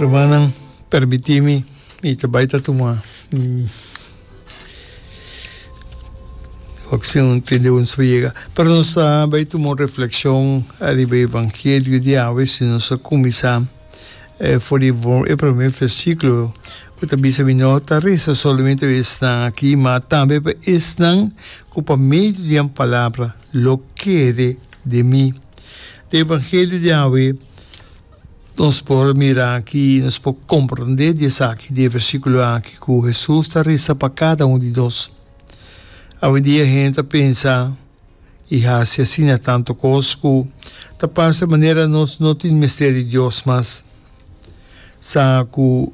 Rumannan, permití mi, mi ta bai ta tuma Wak si un tende un so yega. Pero nos ta bai tuma un reflexion ariba e evangelio di awe si nos a cuminsa for di e prome versiculo cu ta bisa mi no ta reza solamente pa esnan aki ma tambe pa esnan cu pa medio di nan palabra lo kere den mi. Den evangelio di awe Nos por mira aki, nos por comprende di esaki, di e versiculo aki, cu Jesus ta reza pa cada un di nos. Awendia hende ta pensa y haci asina tanto cos cu ta parce manera nos no tin mester di Dios mas. Sa cu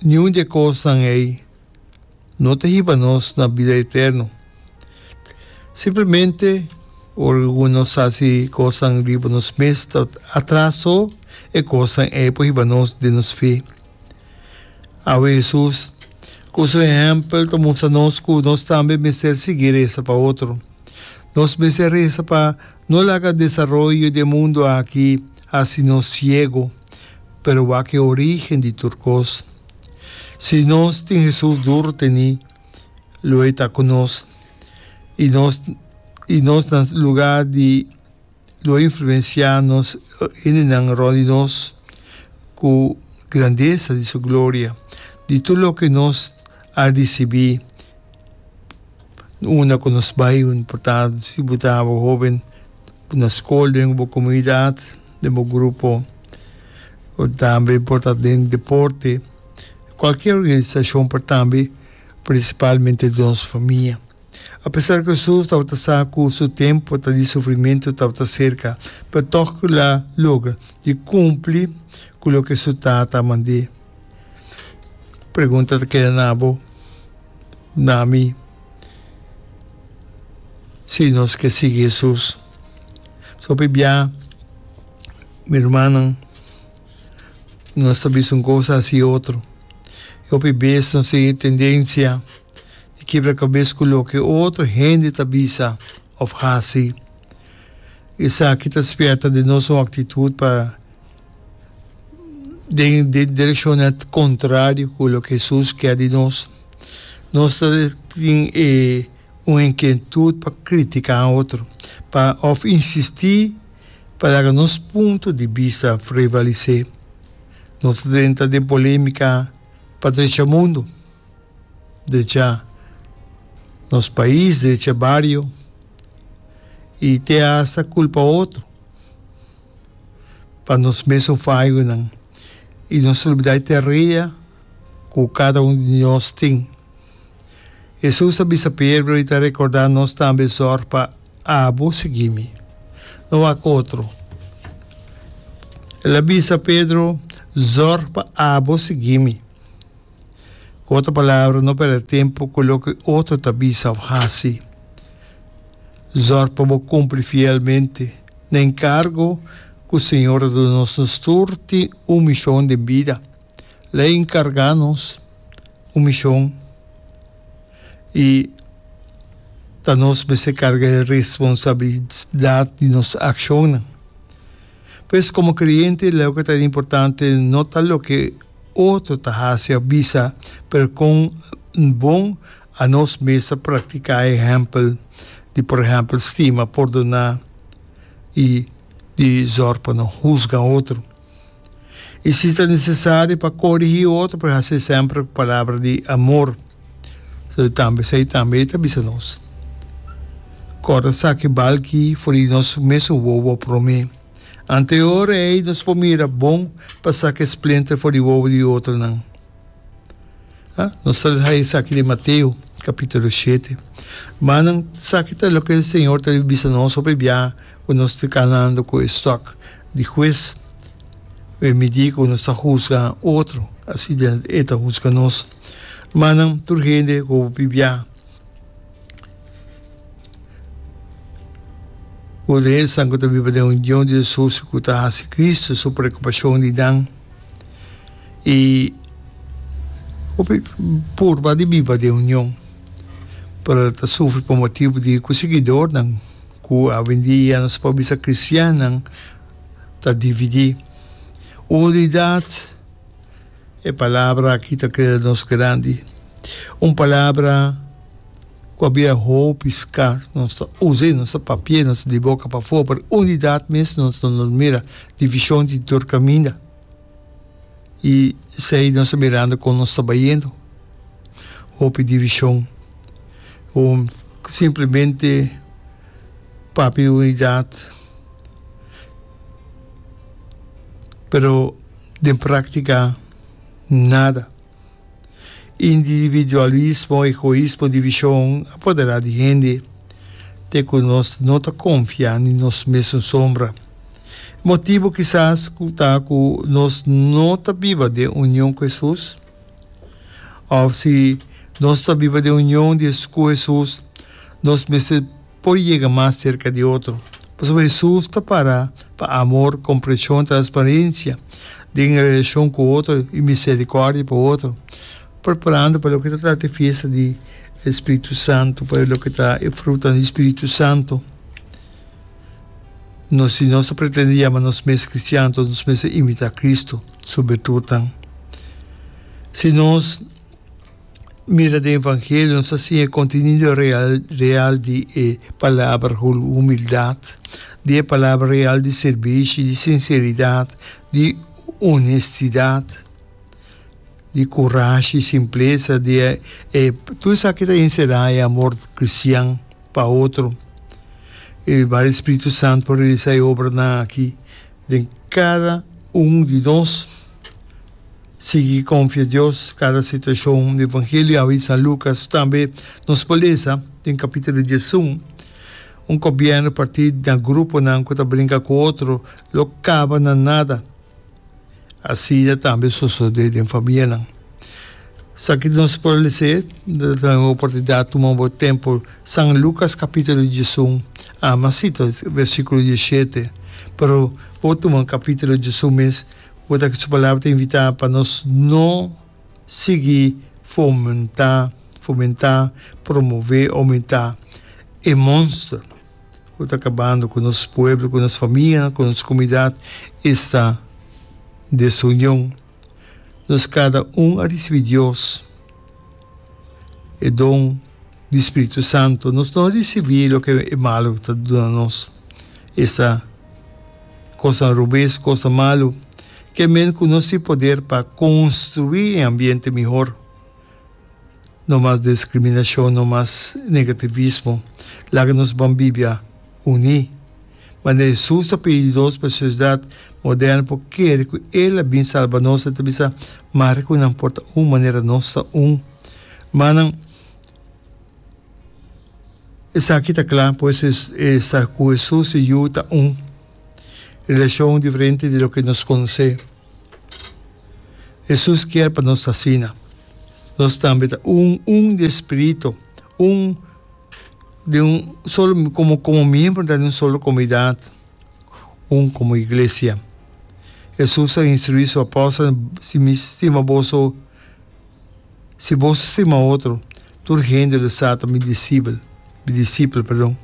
niun di e cosnan ey no ta hiba nos na bida eterno. Simplemente, ora ku nos hasi kosnan riba nos mes, ta atras so e kosnan ei por hiba nos den nos fe. Awe Hesus, ku su ehèmpel, ta mustra nos ku nos tambe mester sigui resa pa otro. Nos mester resa pa no laga desaroyo di e mundu aki hasi nos siego, pero wak e orígen di tur kos. Si nos tin Hesus duru tení, lo e ta ku nos, i nos i nos na lugá di lo influensiá nos hendenan rònt di nos ku grandesa di su gloria, di tur loke nos a risibí unda ku nos bai, por ta si bo ta hóben na skol, den bo komunidat, den bo grupo, o tambe por ta den deporte. Cualkier organisacion por tambe, principalmente den nos famia. Apesar cu Jesus tabata sa cu su tempo ta di sufrimento tabata cerca, pero toch el a logra di cumpli cu loke su Tata a mand'é. Pregunta ta keda na bo, na mi, si nos ke sigui Jesus. So p'e bia, mi rumannan. Nos ta bisa un kos hasi otro. I hopi bes nos tin e tendensia di kibra kabes ku loke otro hende ta bisa òf hasi. Esaki ta spièrta den nos un aktitut pa den direkshon nèt kontrario ku loke Hesus kier di nos. Nos ta tin e un inkietut pa kritiká otro, pa òf insistí. Pa laga nos punto di bista prevalisé, nos ta drenta den polémika pa drecha mundu, drecha nos pais, drecha bario i te asta kulpa otro pa nos mesun fayonan i nos ta lubidá e tarea ku kada un di nos tin. Hesus a bisa Pedro i ta rekordá nos tambe zòrg pa Abo sigui mi, no wak otro. El a bisa Pedro, Zòrg pa abo sigui mi. Ku otro palabra, no pèrdè tempu ku loke otro ta bisa òf hasi. Zòrg pa bo kumpli fielmente na enkargo ku Señor a duna nos. Nos tur tin un mishon den bida. El a enkargá nos un mishon. I ta nos mester karga e responsabilidat di nos akshonnan. Pues komo kreyente loke ta importante no ta loke otro ta hasi òf bisa, pero kon bon anos mes ta praktiká e ehèmpel di por ehèmpel stima, pordoná i di zòrg pa no husga otro. I si ta nesesario pa korigí otro, por hasi semper ku palabra di amor. So tambe esei tambe e ta bisa nos. Kòrda saka e balki for di nos mesun wowo promé. Anto e ora ei nos por mira bon pa saka e splinter for di wowo di otronan. Ha? Nos ta haña esaki den Mateo kapítulo shete. Manan, esaki ta loke Señor ta bisa nos hopi bia ku nos ta kanando ku e stòk di hues. E midí ku nos ta husga otro, asina e ta husga nos. Manan, tur hende ku hopi bia ku den esnan ku ta biba den union di Hesus ku ta hasi Kristu su preokupashon di nan. I hopi purba di biba den union, pero ta sufri pa motibu di ku siguidornan ku awendia nos por bisa kristiannan ta dividí. Unidat. E palabra aki ta keda nos grandi. Un palabra ku a bira hopi skars. Nos ta us'é, nos ta papi'é, nos ta di boka pafó, pero unidat mes nos no mira. Divishon di tur kaminda. I esei nos ta mirando kon nos ta bayendo. Hopi divishon. Un simplemente papia di unidat, pero den práktika nada. Individualismo, egoismo, divishon a poderá di hende te ku nos no ta konfia ni nos mesun sombra. E motibu kisas ku ta ku nos no ta biba den union ku Hesus? Òf si nos ta biba den union di ku Hesus, nos mester por yega mas serka di otro. Pasobra Hesus ta para pa amor, komprenshon, transparensia den relashon ku otro i miserikòrdia pa otro, preparando pa loke ta trata e fiesta di e Spiritu Santu, pa loke ta e frutanan di Spiritu Santu. Nos, si nos ta pretende yama nos mes kristian, anto nos mester imitá Kristu su birtutnan. Si nos mira den Evangelio nos ta siña e kontenido real real di e palabra humildat, di e palabra real di sirbishi, di sinseridat, di honestidat, di kurashi, simplesa, di e e tur esaki ta enserá e amor kristian pa otro. I bai e Spiritu Santu por realisá e obranan aki den kada un di nos. Sigui konfia Dios kada situashon. Di Evangelio awe di San Lukas tambe nos por lesa den kapitulo 11, Un gobièrnu partí na gruponan ku ta brinka ku otro lo kaba na nada. Asina tambe sosodé den famianan. Esaki nos por les'é, ta un oportunidat tuma bo tempu. San Lukas kapitulo 11, ama sita versíkulo 17, pero bo tuma kapitulo 11 mes. Bo ta su palabra ta invitá pa nos no sigui fomentá, fomentá, promové, oumentá e monster ku ta kabando ku nos pueblo, ku nos famianan, ku nos komunidat, esta desunion. Nos kada un a risibí Dios e don di Spiritu Santu. Nos no a risibí loke e malu ta duna nos, esta Kosnan robes, kosnan malu, ke men ku nos tin poder pa konstruí e ambiente mihor. No mas diskriminashon, no mas negativismo. Laga nos ban bibia uní. Manera Hesus ta pidi nos pa e sosiedat moderno por kere ku El a bin salba nos, El ta bisa, Mare ku nan por ta un manera nos ta un. Manan. Esaki ta kla, pues e sa ku Hesus i Yu ta un relashon diferente di loke nos konosé. Hesus kier pa nos ta asina. Nos tambe ta un, un di e spiritu, un di un solo komo komo miembronan di un solo komunidat, un komo iglesia. Hesus a instruí su apòstelnan, Si mi stima boso, Si boso stima otro, tur hende lo sa ta mi disipel, mi disipel, perdon.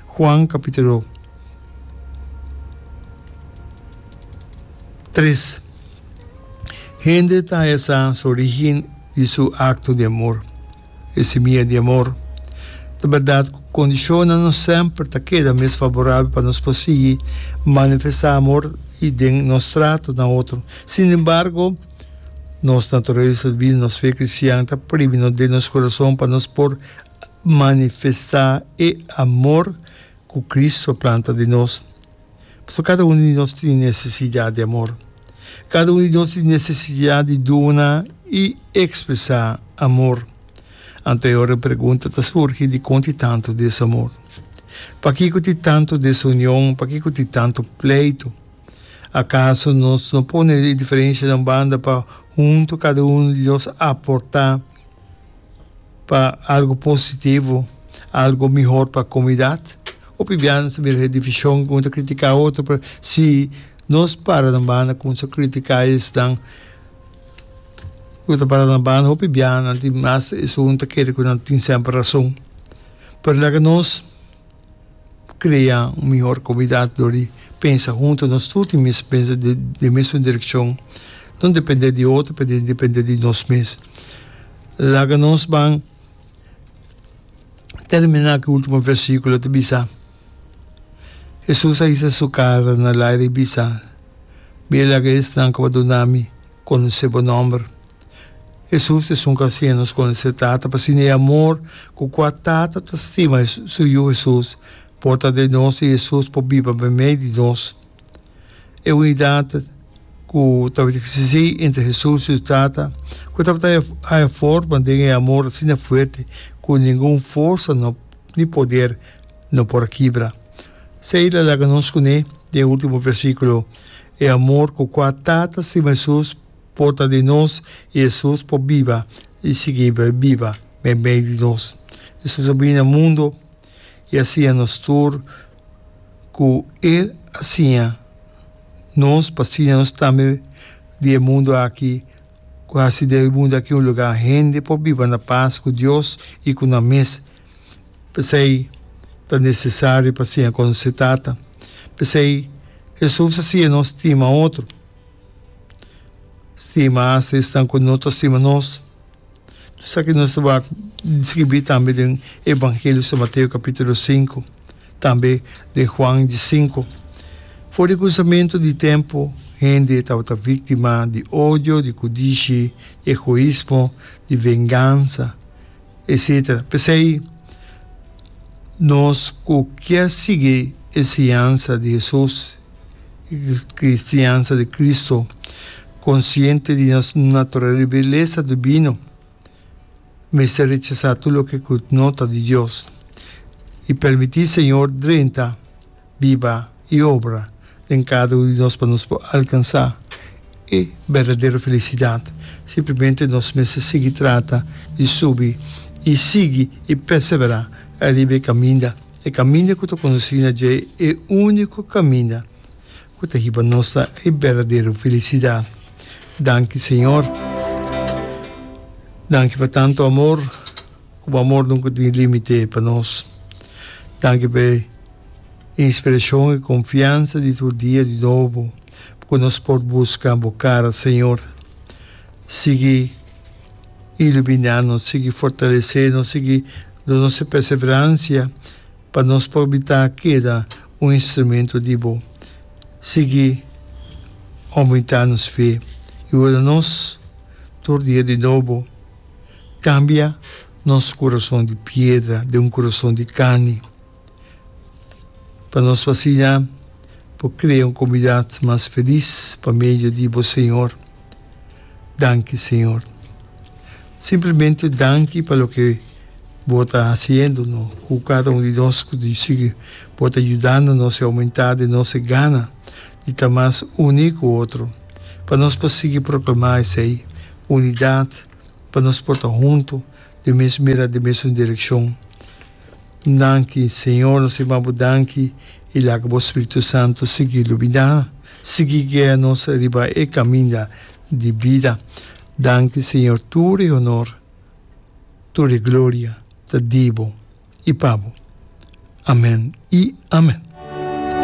Juan capítulo 3. Hende ta haya sa su origen di su acto di amor, e simia di amor. Ta berdad cu condicionnan no semper ta keda mes favorabel pa nos por sigui manifesta amor y den nos trato na otro. Sin embargo, Nos naturalesa divino, nos fe cristian ta primi nos den nos corazon pa nos por manifesta e amor cu Cristo a planta den nos. Pasobra cada uno di nos tin necesidad di amor. Cada uno di nos tin necesidad di duna y expresa amor. Anto e ora e pregunta ta surgi dicon tin tanto desamor? Pakico tin tanto desunion? Pakico tin tanto pleito? Akaso nos no pone e diferensianan banda pa huntu kada unu di nos aportá pa algu positivo, algu mihor pa komunidat? Hopi bia nos ta mira e divishon ku un ta kritiká otro, pero si nos para na banda kuminsá kritiká esnan ku ta para na banda, hopi bia nan tin mas esun ta kere ku nan tin semper rason. Pero laga nos. Crea un mihor comunidad dor di pensa hunto, nos tur tin mes pensa den mesun direccion. No depende di otro, pero depende di nos mes. Laga nos ban termina ku e ultimo versikulo ta bisa, Hesus a hisa su kara na laira i bisa, Mi a laga esnan ku bo a duna mi konosé bo nòmber. Hesus ta esun ku a siña nos konosé Tata, pasobra e amor ku kua Tata ta stima su Yu Hesus por ta den nos i Hesus por biba meimei di nos. E unidat ku tabata eksistí entre Hesus i su Tata, ku tabata haña forma den e amor asina fuerte ku ningun forsa no ni poder no por a kibra. Esei la laga nos kuné den e último versíkulo, E amor ku kua Tata stima Hesus por ta den nos i Hesus por biba i sigui biba meimei di nos. Hesus a bini na mundu i a siña nos tur ku El a siña nos pa siña nos tambe di e mundu aki, ku hasi di e mundu aki un lugá hende por biba na pas ku Dios i ku nan mes. P'esei ta nesesario pa siña konosé Tata. P'esei Hesus a siña nos stima otro, stima asta esnan ku no ta stima nos. Esaki nos ta wak deskribí tambe den Evangelio di San Mateo kapítulo sinku, tambe den Juan di sinku. For di kuminsamentu di tempu, hende tabata víktima di odio, di kudishi, di egoismo, di vengansa, etsetera. P'esei, nos ku kier sigui e siñansa di Hesus, e siñansa di Cristo, Konsiente di nos naturalesa dibino, mester rechasá tur loke ku no ta di Dios i permití Señor drenta, biba i obra den kada un di nos pa nos por alkansá e berdadero felisidat. Simplemente nos mester sigui trata di subi i sigui i perseverá riba e kaminda, e kaminda ku ta kondusí na dje, e úniko kaminda. Ku ta hiba nos na e berdadero felisidat. Danki Señor. Danki pa tantu amor, ku bo amor nunka tin limite pa nos. Danki pa e inspirashon i konfiansa di tur dia di nobo ku nos por buska bo kara, Señor. Sigui iluminá nos, sigui fortalesé nos, sigui duna nos e perseveransia. Pa nos por bita keda un instrumento di bo. Sigui aumenta nos fe i ora nos tur dia di nobo cambia nos curason di piedra den un curason di carni pa nos asina por crea un comunidad mas feliz pa medio di bo Señor. Danki Señor. Simplemente danki pa loke Bo ta hasiendo no ku kada un di nos ku di sigui Bo ta yudando nos i oumentá den nos e gana di ta mas uní ku otro pa nos por sigui proklamá esei unidat pa nos por ta huntu den mes mira den mesun direkshon. Danki Señor nos ta yama Bo danki i laga Bo Spiritu Santu sigui luminá sigui guia nos riba e kaminda di bida. Danki Señor tur e honor, tur e gloria ta di Bo i pa Bo. Amen i amen.